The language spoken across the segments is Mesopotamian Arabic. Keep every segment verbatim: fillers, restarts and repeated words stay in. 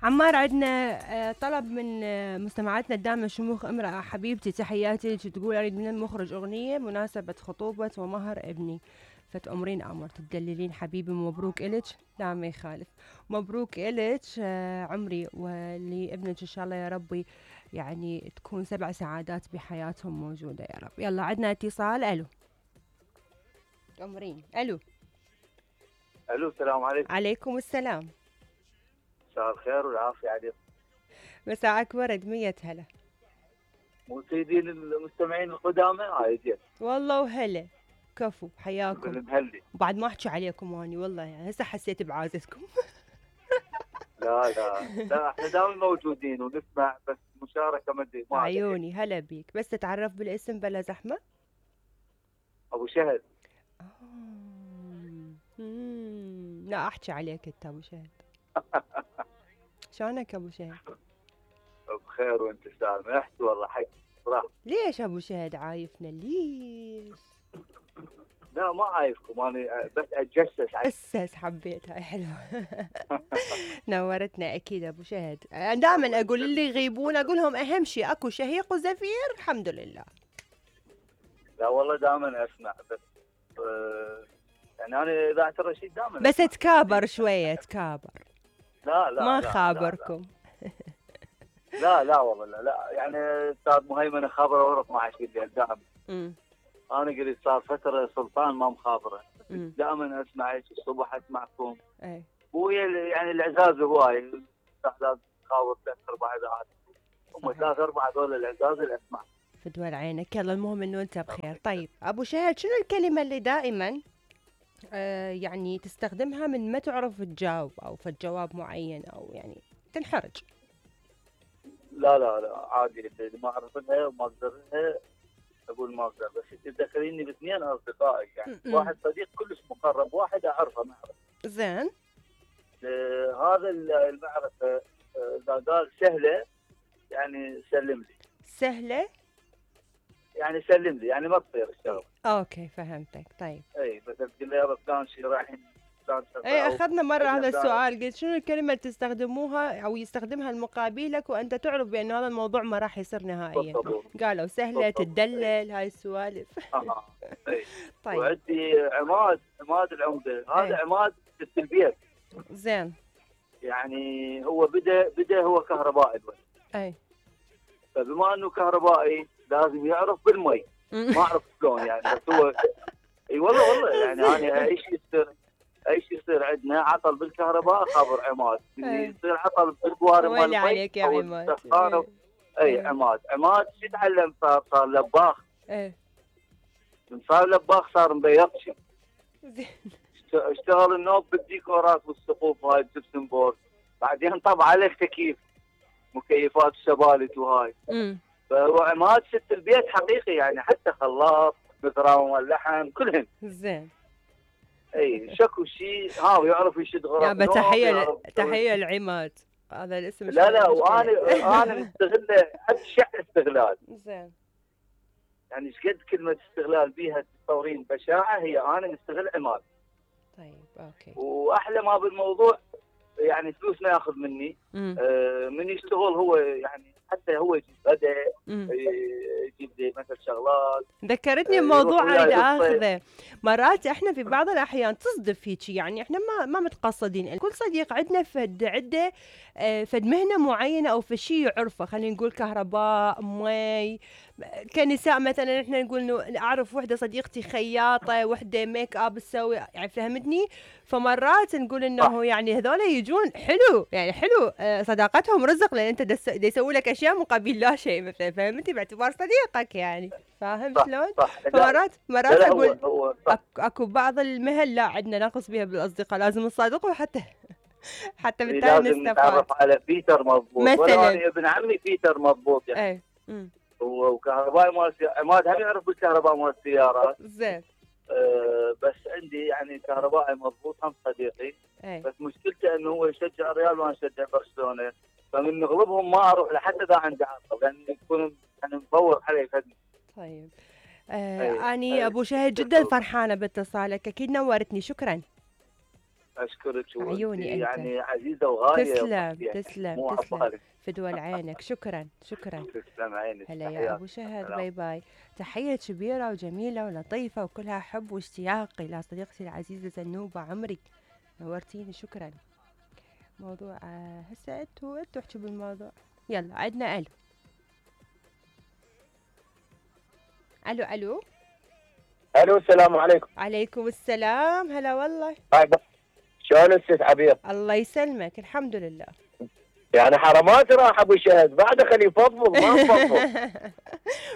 عمار، عندنا آه، طلب من آه، مستمعاتنا الدامة شموخ امرأة حبيبتي، تحياتي لك، تقول أريد من المخرج أغنية مناسبة خطوبة ومهر ابني، فتأمرين أمر تدللين حبيبي. مبروك إلك. لا ما يخالف، مبروك إلك آه، عمري، ولابنك إن شاء الله يا ربي يعني تكون سبع سعادات بحياتهم موجودة يا رب. يلا عندنا اتصال. ألو تأمرين. ألو. الو السلام عليكم. عليكم السلام. مساء الخير والعافيه عليكم. مساءك ورد. مية هلا. مفيدين المستمعين القدامى عايزين والله وهلا. كفو، حياكم. بالمهلي. وبعد ما احكي عليكم اني والله يعني هسه حسيت بعازتكم. لا لا لا احنا دائما موجودين ونسمع، بس مشاركه ما ادري ما أدري. عيوني هلا بيك، بس تتعرف بالاسم بلا زحمه. ابو شهد. آه. مم. لا احكي عليك انت ابو شهد. شلونك ابو شهد؟ بخير وانت سامحت والله حق صراحه. ليش ابو شهد عايفنا ليش؟ لا ما عايفكم انا بس اتجسس على اسس حبيت، هاي حلوه. نورتنا اكيد ابو شهد. دائما اقول اللي يغيبون اقول لهم اهم شيء اكو شهيق وزفير الحمد لله. لا والله دائما اسمع، بس آه يعني انا اذاعه الرشيد دائما بس تكابر شويه تكابر. لا لا ما لا خابركم. لا لا, لا, لا والله لا, لا يعني استاذ مهيمن خابره ورا اثنعش بالليل دائما. انا قلت صار فتره سلطان ما مخابره، دائما اسمعك الصبح اسمعكم. اي ويا يعني العزاز هواي لازم تخاوف ثلاث اربع اذاعات، هم ثلاث اربع هذول العزاز اللي اسمع. فدوى عينك. يلا المهم انه انت بخير. طيب ابو شهد، شنو الكلمه اللي دائما آه يعني تستخدمها من ما تعرف تجاوب او في جواب معين او يعني تنحرج؟ لا لا لا عادي، اللي ما اعرف لها وما اقدر لها اقول ما اقدر. بس تذكريني باثنين اصدقائي، يعني م -م. واحد صديق كلش مقرب، واحد اعرفه معرفه. زين. آه هذا المعرفه اذا قال سهله يعني سلم لي. سهله يعني سلم لي، يعني ما تصير الشغله. اوكي فهمتك. طيب اي مثلا تقول لي يابا فلان شيء رايحين فلان شيء. اي اخذنا مره هذا السؤال، قلت شنو الكلمه اللي تستخدموها او يستخدمها المقابلك وانت تعرف بان هذا الموضوع ما راح يصير نهائيا؟ قالوا سهله تدلل هاي السوالف. اه اي. طيب وعندي عماد، عماد العمده، هذا عماد في البيت. زين. يعني هو بدا بدا هو كهربائي الولد. اي. فبما انه كهربائي لازم يعرف بالمي. ما اعرف شلون يعني، بس هو اي والله والله يعني انا اي شيء يصير اي شيء يصير عندنا عطل بالكهرباء خابر عماد، يصير عطل بالقوارب مال المي عليك يا عماد. اي عماد عماد شو تعلم؟ صار صار لباخ. ايه من صار لباخ صار مبيضشي. اشتغل النوب بالديكورات والسقوف هاي الجبسن بورد، بعدين طبع عليه تكييف مكيفات الشبالت وهاي. امم فهو عماد ست البيت حقيقي يعني، حتى خلاط متراوم اللحم كلهن. زين. اي شكو شيء ها ويعرف يشد غرف. يا تحيه تحيه العماد، هذا الاسم. لا لا وانا انا مستغله ابشع استغلال. زين. يعني ايش قد كلمه استغلال بيها تستورين بشاعه، هي انا مستغل عماد. طيب اوكي. واحلى ما بالموضوع يعني فلوس ما ياخذ مني. آه من يشتغل هو يعني حتى هو يجيب غداء، يجيب لي مثل شغلات. ذكرتني بموضوع اريد اخذه. مرات احنا في بعض الاحيان تصدف هيك، يعني احنا ما ما متقصدين، كل صديق عندنا فد عده فد مهنه معينه او في شيء يعرفه، خلينا نقول كهرباء مي. كنساء مثلا احنا نقول انه اعرف وحده صديقتي خياطه، وحده ميك اب تسوي، يعني فهمتني. فمرات نقول انه يعني هذول يجون حلو، يعني حلو صداقتهم رزق، لان انت دا يسوي لك اشياء مقابل لا شيء مثلا، فهمتي؟ باعتبار صديقك يعني، فاهم شلون؟ فمرات مرات اقول هو هو اكو بعض المهن لا عندنا ناقص بها بالاصدقاء، لازم نصادقه حتى حتى بالتالي بالتالي نستفاد. نتعرف على بيتر مضبوط مثلا. انا ابن عمي بيتر مضبوط يعني. اي امم وكهربائي مال عماد هم يعرف بالكهرباء مال السيارات. زين. أه بس عندي يعني كهربائي مضبوط هم صديقي. أي. بس مشكلته انه هو يشجع الريال وانا اشجع برشلونه، فمن نغلبهم ما اروح لحتى اذا عندي عقل، لان يكون يعني مفور علي خدمه. طيب آه اني ابو شهد جدا فرحانه باتصالك، اكيد نورتني، شكرا. اشكرك. عيوني انت يعني عزيزه وغاليه. تسلم يعني تسلم تسلم في دول عينك. شكرا شكرا. تسلم عينك. هلا يا ابو شهد. باي باي. تحيه كبيره وجميله ولطيفه وكلها حب واشتياق الى صديقتي العزيزه زنوبه عمري. نورتيني. شكرا. موضوع هسه انتوا انتوا احكوا بالموضوع. يلا عندنا الو الو الو الو السلام عليكم. عليكم السلام. هلا والله. شلون الست عبير؟ الله يسلمك. الحمد لله. يعني حرامات راح ابو شهد بعد خليه يفضفض ما يفضفض.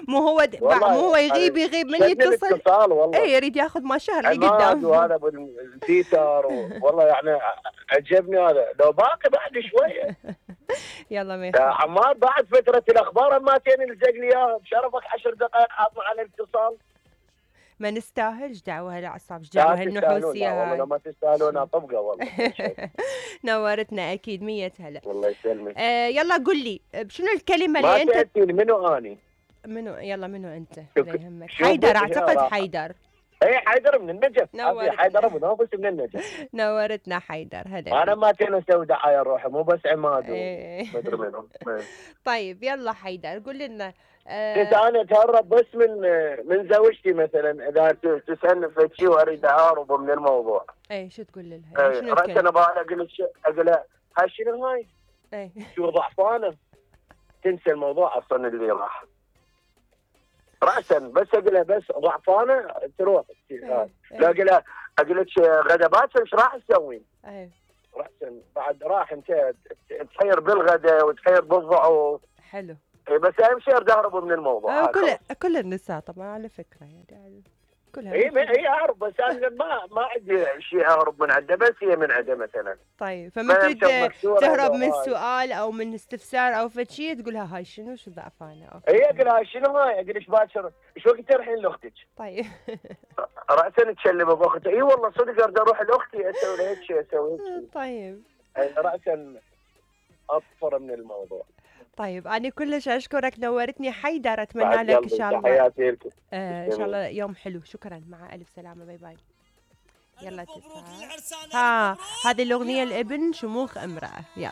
مو هو د... مو هو يغيب يغيب من يتصل. اتصال والله. اي يريد ياخذ ما شهر اللي قدام. وهذا بالتيتر والله يعني عجبني هذا. لو باقي بعد شويه. يلا ما يا عمار بعد فتره الاخبار ماتين الزق لي اياها بشرفك عشر دقائق حاطنا على الاتصال. ما نستاهلش دعوه هالاعصاب. ايش دعوه هالنحوسيه هاي. والله ما تستاهلون طبقه والله. نورتنا اكيد. مية هلا. والله يسلمك. آه يلا قل لي شنو الكلمه اللي ما انت تأتيني منو اني؟ منو؟ يلا منو انت؟ لا يهمك. حيدر اعتقد. حيدر. اي حيدر من النجف. نورتنا. حيدر ابو نافس من النجف. نورتنا حيدر. هلا. انا ما كان اسوي دعايه روحي مو بس عماد ايه. ما ادري منهم. طيب يلا حيدر قول لنا. كنت انا اتهرب بس من من زوجتي مثلا اذا تسالني في شيء واريد اهرب من الموضوع. اي شو تقول لها؟ شنو الكلمه؟ انا بقول اقول لها هاي شنو هاي؟ اي شو ضعفانه؟ تنسى الموضوع اصلا اللي راح. راسا بس اقول لها بس ضعفانه تروح. لا اقول لها اقول لك غدا باكر ايش راح تسوين؟ اي راسا بعد راح انت تحير بالغدا وتحير بالضعف. حلو. بس اهم شيء اهربوا من الموضوع. آه كل كل النساء طبعا على فكره يعني كلها. اي هي اهرب بس انا ما ما عندي شيء اهرب من عنده بس هي من عنده مثلا. طيب فما تريد تهرب من سؤال او من استفسار او فد شيء تقولها هاي شنو شو ضعفانه. اي اقول لها شنو هاي؟ اقول ايش باكر ايش وقت تروحين لاختك؟ طيب راسا تكلم باختي. اي والله صدق اريد اروح لاختي اسوي لها هيك شيء اسوي هيك شيء. طيب راسا اطفر من الموضوع. طيب أنا كلش أشكرك. نورتني حيدر. أتمنى لك إن شاء الله تحياتي لكم. آه إن شاء الله يوم حلو. شكرا. مع ألف سلامة. باي باي. يلا تسعة. ها هذه الأغنية الابن شموخ امرأة. يلا.